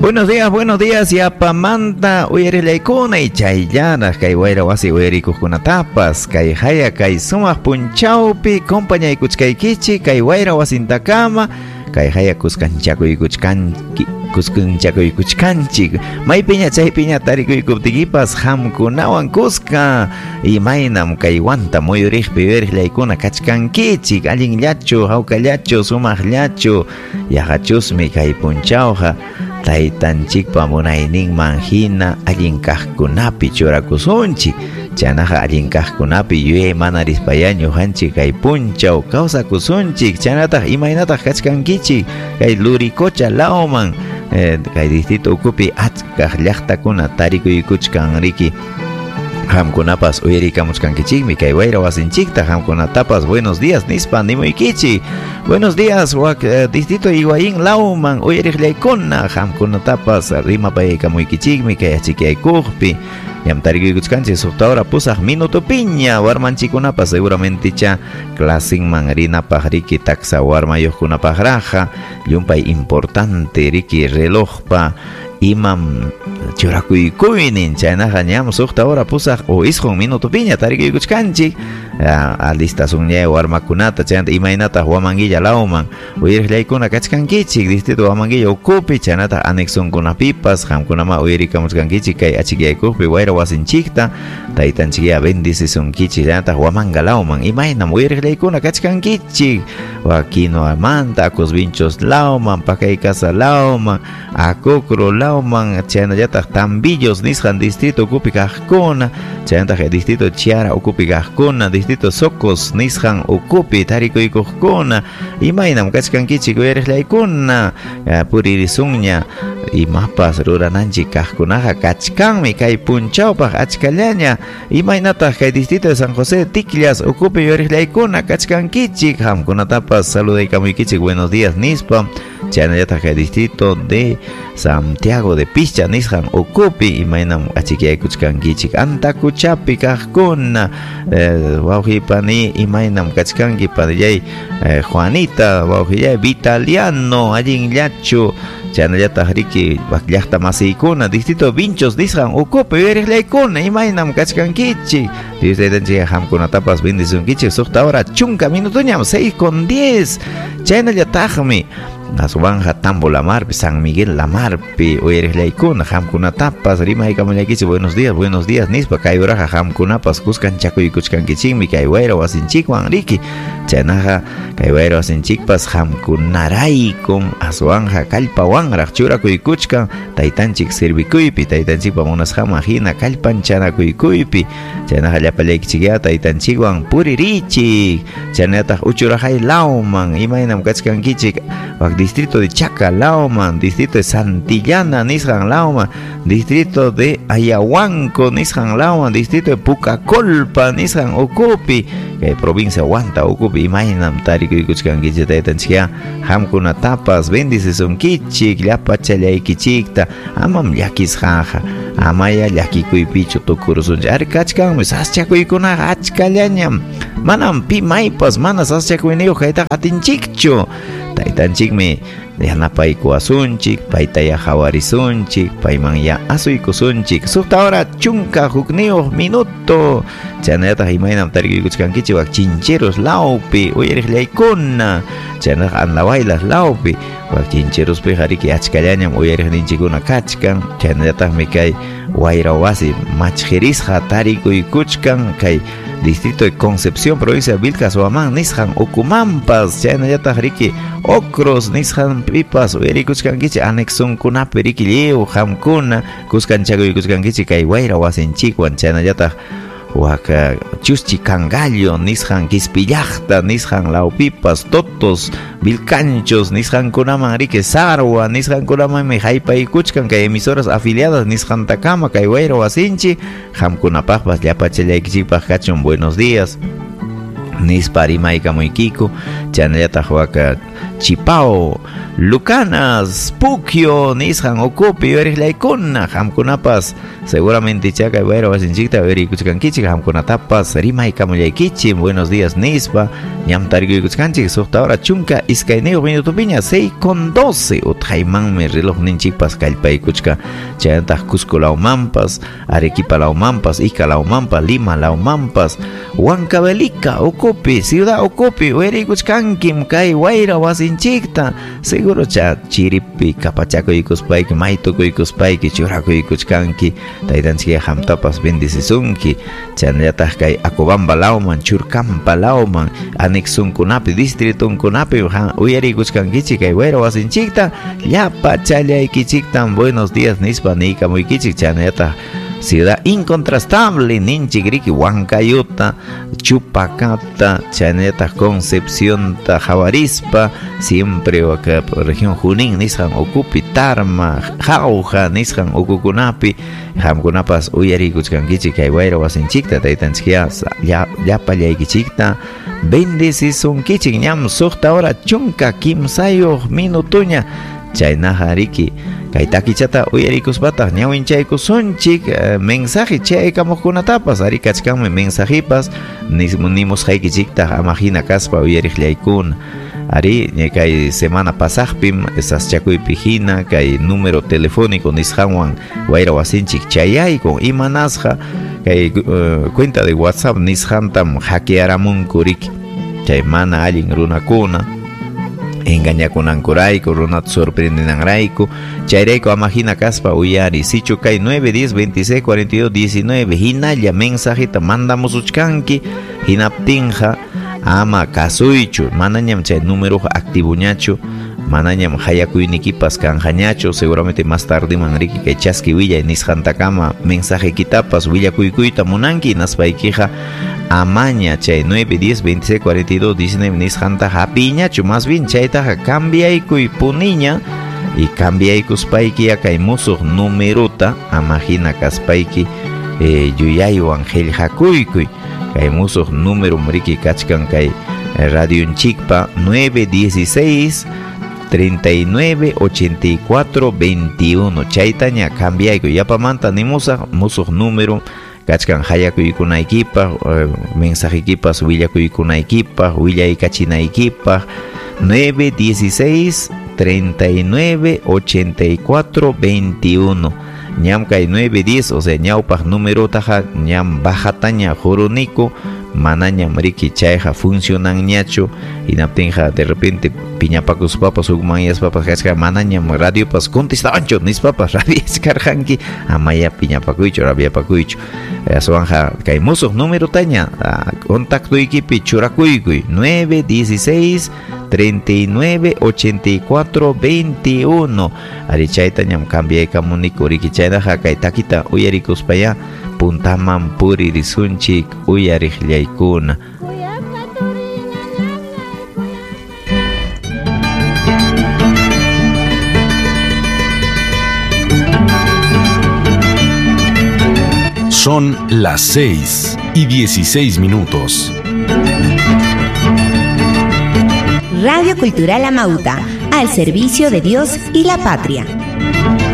Buenos días, yapamanta uyarillaykuna y chayllaraq kay wayra wasi uyarikuqkunatapas kay haya kay sumaq punchawpi compañaykuchkaykichik kay wayra wasintakama kay haya kuskanchakuykuchkanchik maypiña chaypiña tarikuykuptikipas qamkunawan kuska imaynam kay wanta muyuriqpi uyariqllaykuna kachkankichik allinllachu hawkallachu sumaqllachu yaqachusmi kay punchawqa taytanchikpa munayninman hina allin kaqkunapi churakusunchik chaynaqa allin kaqkunapi yuyay mana rispaya ñuqanchik kay punchaw kawsakusunchik chaynataq imaynataq kachkankichik kay Luricocha lawman kay distrito ukupi achkaq llaqtakuna tarikuykuchkan riki qamkunapas uyarikamuchkankichikmi kay wayra wasinchikta qamkunatapas buenos días nispa nimuykichik. Buenos días wak distrito Higuaín lawman uyariqllaykuna qamkunatapas rimapaykamuykichikmi kay achikyaykuqpi ñam tarikuykuchkanchik suqta hora pusaq minutopiña warmanchikkunapas seguramente cha clasinman rinapaq riki taksa warmayuqkunapaqraqa llumpay importante riki relojpa imam churakuykuynin chaynaqa ñam suqta hora pusaq o isqun minutopiña tarikuykuchkanchik alistasunña warmakunata chaynata imaynataq Huamanguilla lawman uyariqllaykuna kachkankichik distrito Huamanguilla ukupi chaynataq anexonkunapipas qamkunama uyarikamuchkankichik kay achikyaykuqpi wayra wasinchikta taytanchikya bendicisunkichik chaynataq Huamanga lawman imaynam uyariqllaykuna kachkankichik Quinoamanta Acosvinchos lawman Pacaycasa lawman Acocro lawman chaynallataq Tambillos nisqan distrito ukupi kaqkuna chaynataq distrito Chiara ukupi kaqkuna distrito Socos nisqan ukupi tarikuykuqkuna imaynam kachkankichik uyariqllaykuna puririsunña imapas rurananchik kaqkunaqa kachkanmi kay punchawpaq achkallaña imaynataq kay distrito de San José Ticllas ukupi uyariqllaykuna kachkankichik qamkunatapas saludaykamuykichik buenos días nispa chaynallataq kay distrito de Santiago de Pischa nisqan ukupi imaynam achikyaykuchkankichik Antacuchapi kaqkuna wawqipani imaynam kachkanki panillay Juanita wawqillay Vitaliano allinllachu chaynallataq riki llaqta masiykuna distrito Vinchos nisqan ukupi uyariqllaykuna imaynam kachkankichik Dios taytanchik qamkunatapas bendisunkichik suqta hora chunka minutoñam 6:10 chaynallataqmi aswanja Tambo Lamarpi San Miguel Lamarpi uyariqllaykuna qamkunatapas rimaykamullaykichik buenos días nispa kay uraqa qamkunapas kuskanchakuykuchkankichikmi kay wayra wasinchikwan riki chaynaqa kay wayra wasinchikpas qamkunaraykum aswanja kallpawanraq churakuykuchkan taytanchik servikuypi taytanchikpa munasqanman hina kallpanchanakuykuypi chaynaqa llapallaykichikya taytanchikwan puririchik chaynataq uchuraqay lawman imaynam kachkankichik wak distrito de Chaca lawman, distrito de Santillana nisqan lawman, distrito de Ayahuanco nisqan lawman, distrito de Pucacolpa nisqan ukupi kay provincia Huanta ukupi imaynam tarikuykuchkankichik taytanchikya qamkunatapas bendicisunkichik llapachallaykichikta amam llakisqaqa amaya llakikuypichu tukurusunchik ari kachkanmi saschakuykunaqa achkallañam manam pi maypas mana saschakuyniyuq kaytaqa atinchikchu taytanchikmi yanapaykuwasunchik paytaya hawarisunchik payman ya asuykusunchik suqta hora chunka hukniyuq minuto chaynallataq imaynam tarikuykuchkankichik wak Chincheros lawpi uyariqllaykuna chaynataq Andahuaylas lawpi wak Chincherospiqa riki achkallañam uyariqninchikkuna kachkan chaynallataqmi kay wayra wasi machqirisqa tarikuykuchkan kay distrito de Concepción, provincia de Vilcas Huamán nisqan ukumanpas chaynallataq riki Ocros nisqan pipas uyarikuchkankichik anexonkunapi riki lliw qamkuna kuskanchakuykuchkankichik kay wayra wasinchikwan chaynallataq waka Chuschi Cangallo nisqan Quispillaqta nisqan lawpipas Totos Vilcanchos nisqankunaman riki Sarwa nisqankunamanmi haypaykuchkan kay emisoras afiliadas nisqantakama kay wayra wasinchik qamkunapaqpas llapachallaykichikpaq kachun buenos días nispa rimaykamuykiku Chaynallataq waka Chipao, Lucanas, Puquio, nisqan ukupi uyariqllaykuna, qamkunapas seguramente kay wayra wasinchikta uyariykuchkankichik, qamkunatapas rimaykamullaykichik, buenos días nispa, ñam tarikuykuchkanchik 6 hora 12 minutopiña, 6:12, utqaymanmi relojninchikpas kallpaykuchka, chaynataq Cusco lawmanpas, Arequipa lawmanpas, Ica lawmanpas, Lima lawmanpas, Huancavelica ukupi, Ciudad ukupi uyariykuchkankim kay wayra wasinchikta, seguro cha chiripi kapachakuykuspayki, maytukuykuspayki, churakuykuchkanki, taytanchik qamtapas bendecisunki, chaynallataq kay Acobamba lawman, Churcampa lawman, anexunkunapi, distritunkunapi uyariykuchkankichik kay wayra wasinchikta, llapa challaykichiktan buenos días nispa niykamuykichik, chaynallataq Ciudad incontrastable ninchik riki Huancayuta, Chupacata, chaynallataq Concepciónta hawarispa, siempre waka región Junín nisqan ukupi, Tarma, Jauja nisqan ukukunapi, qamkunapas uyariykuchkankichik kay wayra wasinchikta, taytanchikya llapallaykichikta bendecisunkichik, ñam 6 hora 13 minutuña, chaynaqa riki kay takichata uyarikuspataq ñawinchaykusunchik mensaje chaykamuqkunatapas, ari kachkanmi mensajipas nimusqaykichiktaq ama hina kaspa uyariqllaykuna, ari kay semana pasaqpim saschakuypi hina kay número telefónico nisqanwan wayra wasinchik chayaykun, imanasqa kay cuenta de WhatsApp nisqantam hackearamunku riki, chay mana allin runakuna engañakunankurayku, runata sorprendenanrayku, chayrayku ama hina kaspa uyari, sichu kay 9 10 26 42 19 hinalla mensajita mandamusuchkanki, hinaptinqa ama kasuychu, manañam chay número activoñachu, manañam hayakuynikipas kanqañachu, seguramente más tarde man riki kay chaski willay nisqantakama mensaje kitapas willakuykuyta munanki, hinaspaykiqa amaña chay 9 10 26 42 19 nisqanta hapiñachu, más bien chaytaqa cambiaykuy puniña, y cambiaykuspayki kay musuq numerota ama hina kaspayki yuyaywan qillqakuykuy, kay musuq número riki kachkan kay radionchikpa 9 16 39 84 21, chaytaña cambiaykuy, yapamanta nimusaq musuq número kachkan hayakuykunaykipaq, mensajikipas willakuykunaykipaq, willaykachinaykipaq, 9 16 39 84 21, ñam kay 9 10, o sea ñawpaq numerotaqa ñam bajataña juruniku, manañam riki chayqa funcionanñachu, hinaptinqa de repente piñapakuspapas hukmanyaspapas kachka manañam radiopas contestawanchu nispapas rabiachkarqanki, amaya piñapakuychu rabiapakuychu, aswanqa kay musuq numerotaña contactoykipi churakuykuy 9 16 39 84 21, ari chaytañam cambiaykamuniku riki, chaynaqa kay takita uyarikuspaya puntaman puririsunchik uyariqllaykuna. Son las 6:16. Radio Cultural Amauta, al servicio de Dios y la patria.